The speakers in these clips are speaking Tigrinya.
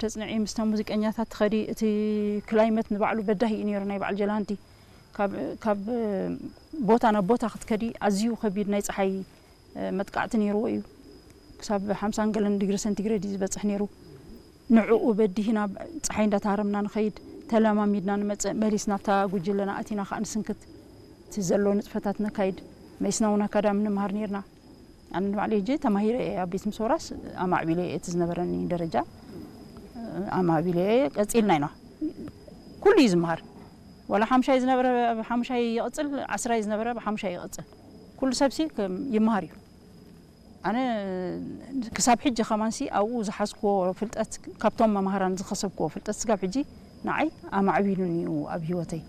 ተጽንዒ ምስቶም ሙዚቀኛታት ትኸዲ፣ እቲ ክላይመት ንባዕሉ በዳሂ እዩ ነይሩ፣ ናይ በዓል ጀላንቲ። ካብ፣ ካብ ቦታ ናብ ቦታ ክትከዲ ኣዝዩ ከቢድ ናይ ጸሓይ መጥቃዕቲ ነይርዎ እዩ። ክሳብ ሓምሳን ገለን ዲግሪ ሰንቲግሬድ እዩ ዝበጽሕ ነይሩ። ንዕኡ በዲህና ጸሓይ እንዳተሃረምና ንኸይድ፣ ተለማሚድና ንመጽእ፣ መሊስ ናብታ ጉጅለና ኣቲና ከኣ ንስንክት፣ እቲ ዘሎ ንጥፈታት ነካይድ። መይስና እውን ኣካዳሚ ንምሃር ነይርና። ኣነ ንባዕለይ ሕጂ ተማሂረ እየ ኣብ ቤት ምሶራስ ኣማዕቢለ እየ እቲ ዝነበረኒ ደረጃ ኣማዕቢለ እየ ቀጺልና ኢና ኩሉ እዩ ዝመሃር ዋላ ሓምሻይ ዝነበረ ሓምሻይ ይቕጽል ዓስራይ ዝነበረ ብሓምሻይ ይቕጽል ኩሉ ሰብሲ ከም ይመሃር እዩ ኣነ ክሳብ ሕጂ ከማንሲ ኣብኡ ዝሓዝክዎ ፍልጠት ካብቶም መምሃራን ዝኸሰብክዎ ፍልጠት ስጋብ ሕጂ ንዓይ ኣማዕቢሉን እዩ ኣብ ህይወተይ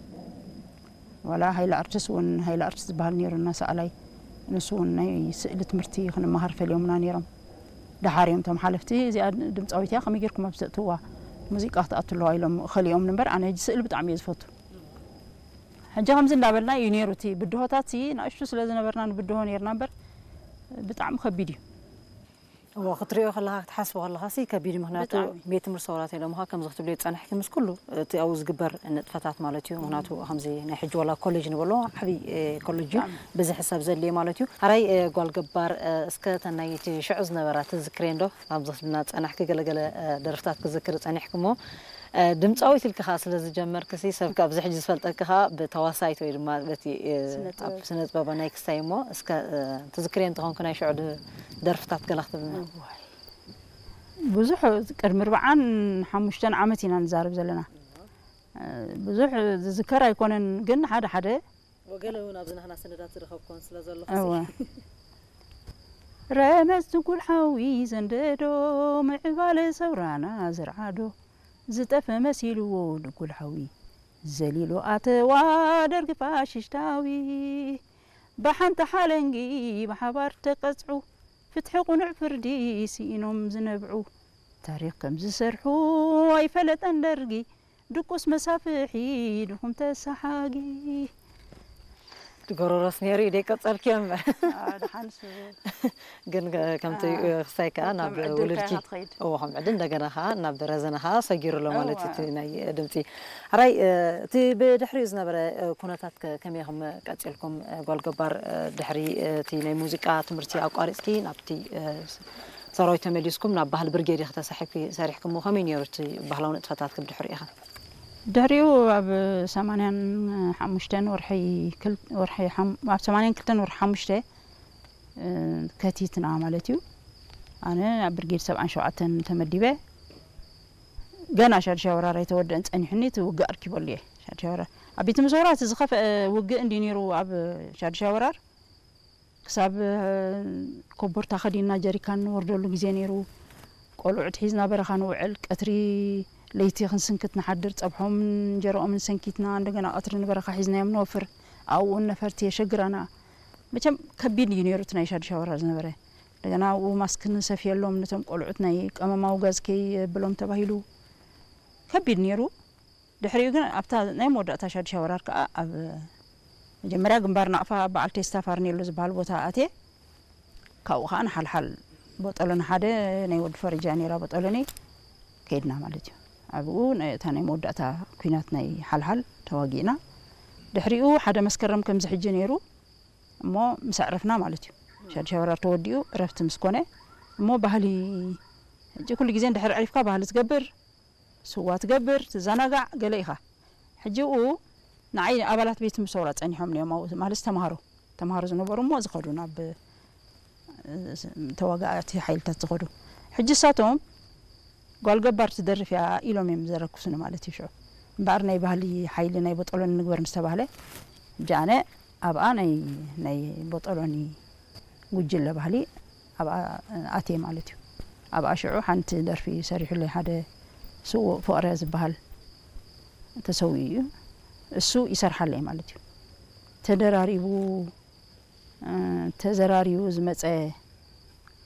ዋላ ሃይለ ኣርትስ እውን ሃይለ ኣርትስ ዝበሃል ነይሩ እናሰኣላይ ንሱ እውን ናይ ስእሊ ትምህርቲ ክንመሃር ፈልዮምና ነይሮም። ደሓር እዮም እቶም ሓለፍቲ እዚኣ ድምፃዊት እያ ከመይ ጌርኩም ኣብዚ ተእትዋ ሙዚቃ ክትኣቱ ኣለዋ ኢሎም ኸሊኦም እምበር ኣነ ሕጂ ስእሊ ብጣዕሚ እየ ዝፈቱ። ሕጂ ከምዚ እንዳበልና እዩ ነይሩ እቲ ብድሆታት ንእሽቱ ስለ ዝነበርና ንብድሆ ነይርና እምበር ብጣዕሚ ከቢድ እዩ። እዎ ክትሪኦ ከለኻ ክትሓስቦ ከለኻ ሲ ከቢድ እዩ። ምክንያቱ ብጣዕሚ። ቤት ትምህርቲ ሰውራ ተይሎምኻ ከምዚ ክትብልዮ ዝጸንሕኪ ምስ ኩሉ እቲ ኣብኡ ዝግበር ንጥፈታት ማለት እዩ። ምክንያቱ ከምዚ ናይ ሕጂ ዋላ ኮሌጅ ንበሎ ዓብዪ ኮሌጅ እዩ። ብጣዕሚ። ብዝሒ ሰብ ዘድልዮ ማለት እዩ። ሓራይ ጓል ገባር እስከ ተናይቲ ሽዑ ዝነበራ ትዝክሬ እንዶ ከምዚ ክትብልና ዝጸናሕኪ ገለገለ ደርፍታት ክዝክር ጸኒሕኪ እሞ ድምፃዊት ኢልኪ ከዓ ስለ ዝጀመርክሲ ሰብ ኣብዚ ሕጂ ዝፈልጠኪ ከዓ ብተዋሳይት ወይ ድማ በቲ ስነ ጥበብ። ኣብ ስነ ጥበብ ናይ ክስታይ እሞ እስከ ትዝክርዮ እንተኾንኩ ናይ ሽዑ ድ- ደርፍታት ገላ ክትብልና እዋይ። ብዙሕ ቅድሚ ኣርብዓን ሓሙሽተን ዓመት ኢና ንዛረብ ዘለና ብዙሕ ዝዝከር ኣይኮነን ግን ሓደ ሓደ ወገለ እውን ኣብዚ ናህና ሰነዳት ዝረኸብኮን ስለ ዘለኹ እወ። ረመጽ ትጉል ሓዊ ዘንደዶ ምዕባለ ሰውራና ዝርዓዶ ዝጠፈ መሲልዎ ድጉል ሓዊ ዘሊሉ ኣተዋ ደርጊ ፋሽሽታዊ ብሓንቲ ሓለንጊ ብሓባር ተቀጽዑ ፍትሒ ቁኑዕ ፍርዲ ስኢኖም ዝነብዑ ታሪኽ ከም ዝሰርሑ ኣይፈለጠን ደርጊ ድቁስ መሳፍሒ ድኹም ተሰሓጊ። ጎሮሮስ ነይሩ እዩ ደይቀጸልክዮ እምበር። ኣዎ፣ ደሓንስ። ግን ከምቲ ኣዎ። ክሳይ ከኣ ከም ናብ ዕድል ውልድኪ። ከኣ ትኸይድ። እዎ፣ ከም ዕድል እንደገና ከኣ ናብ ረዘነ ከኣ ሰጊሩ ኣሎ ማለት እዩ፣ ኣዋ። እቲ ናይ ድምጺ። ሕራይ፣ እ፣ እቲ ብድሕሪኡ ዝነበረ፣ እ፣ ኩነታት ከ-፣ ከመይ ኢኹም ቀጺልኩም፣ እ፣ ጓል ገባር፣ እ፣ ድሕሪ፣ እ፣ እቲ ናይ ሙዚቃ ትምህርቲ ኣቋሪጽኪ ናብቲ፣ እ፣ ሰራዊት ተመሊስኩም ናብ ባህሊ ብርጌድ ኢኺ ተሳሒብኪ ሰሪሕክሞ፣ ከመይ ነይሩ እቲ ባህላዊ ንጥፈታትኪ ብድሕሪኡ ኢኻ? ድሕሪኡ ኣብ ሰማንያን ሓሙሽተን ወርሒ ክል-፣ ወርሒ ሓም-፣ ኣብ ሰማንያን ክልተን ወርሒ ሓሙሽተ፣ እ፣ ከቲትና ማለት እዩ። ኣነ ኣብ ብርጌድ ሰብዓን ሸውዓተን ተመዲበ። ገና ሻድሻይ ወራር ኣይተወደአን ጸኒሑኒ፣ እቲ ውግእ ኣርኪበሉ እየ። ሻድሻይ ወራር ኣብ ቤት ምሰውራ እቲ ዝኸፍአ ውግእ እንዲ ነይሩ ኣብ ሻድሻይ ወራር። ክሳብ ኮቦርታ ከዲንና ጀሪካን ንወርደሉ ግዜ ነይሩ። ቆልዑት ሒዝና በረኻ ንውዕል። ቀትሪ ለይቲ ክንስንክት ንሓድር። ጸብሖምን እንጀርኦምን ሰንኪትና እንደገና ቀትሪ ንበረኻ ሒዝናዮም ንወፍር። ኣብኡ እውን ነፈርቲ የሸግራና። መቸም ከቢድ እዩ ነይሩ እቲ ናይ ሻዱሻ ወራር ዝነበረ። እንደገና ኣብኡ ማስክ ንሰፍየሎም ነቶም ቆልዑት ናይ ቀመማዊ ጋዝ ከየብሎም ተባሂሉ ከቢድ ነይሩ። ድሕሪኡ ግን ኣብታ ናይ መወዳእታ ሻዱሻ ወራር ከኣ ኣብ መጀመርያ ግንባር ናቕፋ በዓል ቴስታ ፋርኔሎ ዝበሃል ቦታ ኣትየ። ካብኡ ከኣ ንሓልሓል ቦጦሎኒ ሓደ ናይ ወዲ ፈረጃ ነይራ ቦጦሎኒ ከይድና ማለት እዩ። ኣብኡ ናይ፣ እታ ናይ መወዳእታ ኲናት ናይ ሓልሓል ተዋጊእና። ድሕሪኡ ሓደ መስከረም ከምዚ ሕጂ ነይሩ እሞ ምስ ኣዕረፍና ማለት እዩ። ሻዱሻ ወራር ተወዲኡ እረፍቲ ምስ ኮነ እሞ ባህሊ ሕጂ ኩሉ ግዜ እንድሕር ዕሪፍካ ባህሊ ትገብር ስዋ ትገብር፣ ትዘናጋዕ፣ ገለ ኢኻ። ሕጂ ኡ ንዓይ ኣባላት ቤት ምሰውራ ጸኒሖም እዮም ኣብኡ፣ ማለት ተማሃሮ፣ ተማሃሮ ዝነበሩ እሞ ዝኸዱ ናብ፣ እ፣ ተዋጋእቲ ሓይልታት ዝኸዱ። ሕጂ እሳቶም ጓል ገባር ትደርፍ እያ ኢሎም እዮም ዘረኩሱኒ ማለት እዩ ሽዑ። እምበኣር ናይ ባህሊ ሓይሊ ናይ ቦጦሎኒ ንግበር ምስ ተባህለ፣ ሕጂ ኣነ ኣብኣ ናይ፣ ናይ ቦጦሎኒ ጉጅለ ባህሊ ኣብኣ ኣትየ ማለት እዩ። ኣብኣ ሽዑ ሓንቲ ደርፊ ሰሪሑለይ ሓደ ስዉእ ፍቕረ ዝበሃል ተሰዊኡ እዩ። እሱ ይሰርሓለይ ማለት እዩ። ተደራሪቡ፣ እ፣ ተዘራሪቡ ዝመጸ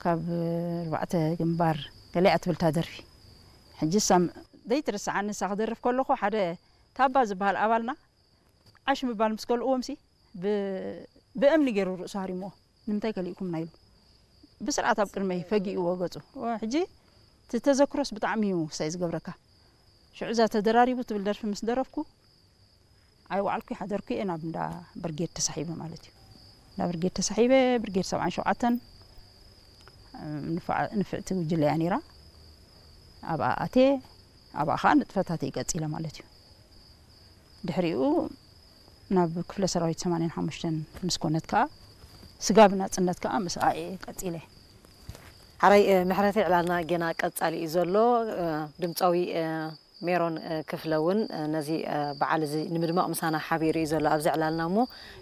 ካብ ኣርባዕተ ግንባር ገለ እያ ትብል እታ ደርፊ። ሕጂ እሳ ዘይትርስዓኒ እሳ ክደርፍ ከለኹ ሓደ ታባ ዝበሃል ኣባልና ዓሽ ምባል ምስ ከልእዎምሲ ብ-፣ ብእምኒ ገይሩ ርእሱ ሃሪምዎ። ንምንታይ ከሊእኩምና ኢሉ ብስርዓት ኣብ ቅድመይ ፈጊእዎ ገጹ። ሕጂ እቲ ተዘክሮስ ብጣዕሚ እዩ ሳይ ዝገብረካ። ሽዑ እዛ ተደራሪቡ ትብል ደርፊ ምስ ደረፍኩ፣ ኣይወዓልኩ ሓደርኩ እየ ናብ እንዳ ብርጌድ ተሳሒበ ማለት እዩ። እንዳ ብርጌድ ተሳሒበ፣ ብርጌድ ሰብዓን ሸውዓተን ንፍዓ- ንፍዕቲ ጉጅለ እያ ነይራ። ኣብኣ ኣትየ፣ ኣብኣ ከዓ ንጥፈታተይ ቀፂለ ማለት እዩ። ድሕሪኡ ናብ ክፍለ ሰራዊት ሰማንያን ሓሙሽተን ምስ ኮነት ከዓ፣ ስጋብ ናፅነት ከዓ ምስኣ እየ ቀፂለ። ሓራይ ምሕረተይ፣ ዕላልና ጌና ቀጻሊ እዩ ዘሎ። ድምጻዊ ሜሮን ክፍለ እውን ነዚ በዓል እዚ ንምድማቕ ምሳና ሓቢሩ እዩ ዘሎ ኣብዚ ዕላልና። እሞ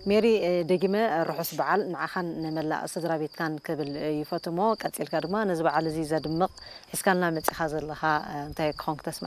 ሜሪ፣ ደጊመ ርሑስ በዓል ንዓኻን ንመላእ ስድራ ቤትካን ክብል ይፈቱ። እሞ ቀጺልካ ድማ ነዚ በዓል እዚ ዘድምቕ ሒዝካልና መጺኻ ዘለኻ እንታይ ክኾን ክተስምዓና?